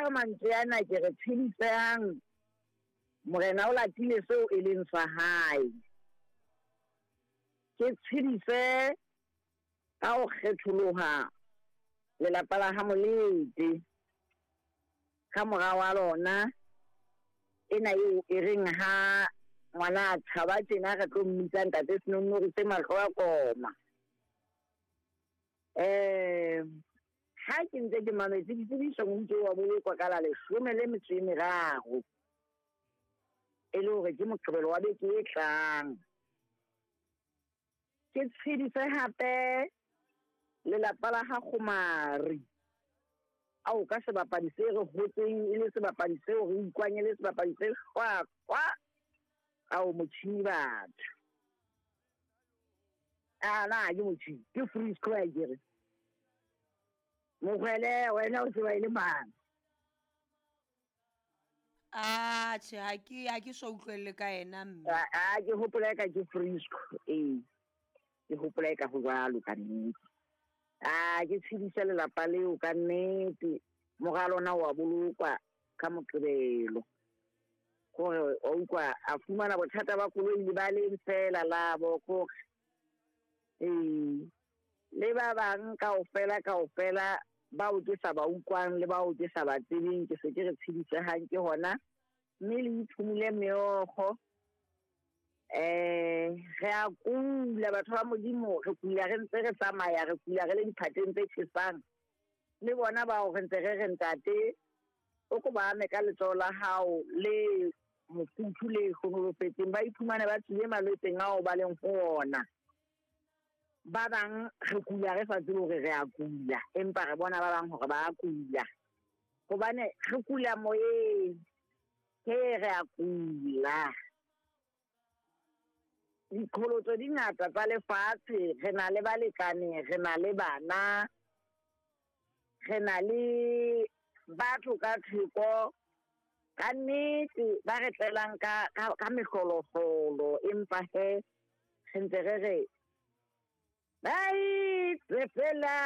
Ka mantswe ana ke re tshedisang, Morena o latile seo e leng sa hae. Ke tshedise ka ho kgetholoha lelapa la ha Molete. Ka mora wa lona ena eo e reng ha ngwana a tshaba tjena re tlo mmitsa ntate Senonnori se mahlo a koma. Ha ke ntse ke mametse ditsebiso montse wa bolokwa ka la 13, e le hore ke Moqebelo wa beke e tlang. Ke tshedise hape lelapa la ha Kgomari. Ao ka sebapadi se re hotseng e le sebapadi seo re utlwang e le sebapadi se hlwahlwa. Ao motjhini batho. A na ke motjhini, ke Frisco a kere. Mogwele wena o tseba e le mang? A tjhe, ha ke so utlwelle ka yena mme. A ke hopola eka ke Frisco, ee. Ke hopola eka ho jwalo ka nnete. A ke tshedisa lelapa leo ka nnete. Mora lona wa bolokwa ka Moqebelo. Hore wa utlwa a fumana bothata ba koloi le ba leng fela labo kore. Ee. Le ba bang kaofela kaofela bao ke sa ba utlwang le bao ke sa ba tsebeng, ke se ke re tshedisehang ke hona. Mme le iphumule meokgo. Re a kula batho ba Modimo, re kula re ntse re tsamaya, re kula re le diphateng tse tjhesang. Le bona bao re ntse re re ntate, o ko ba ame ka letsoho la hao le mofuthu le hlohonolofetseng, ba iphumane ba tswile malwetseng ao ba leng ho ona. Ba bang re kula re sa tsebe hore re a kula, empa re bona ba bang hore ba a kula. Hobane re kula moyeng, he re a kula. Diqholotso di ngata tsa lefatshe, re na le balekane, re na le bana, re na le batho ka theko, ka nnete ba re tlelang ka mehloloholo, empa he re ntse re re ba itse fela.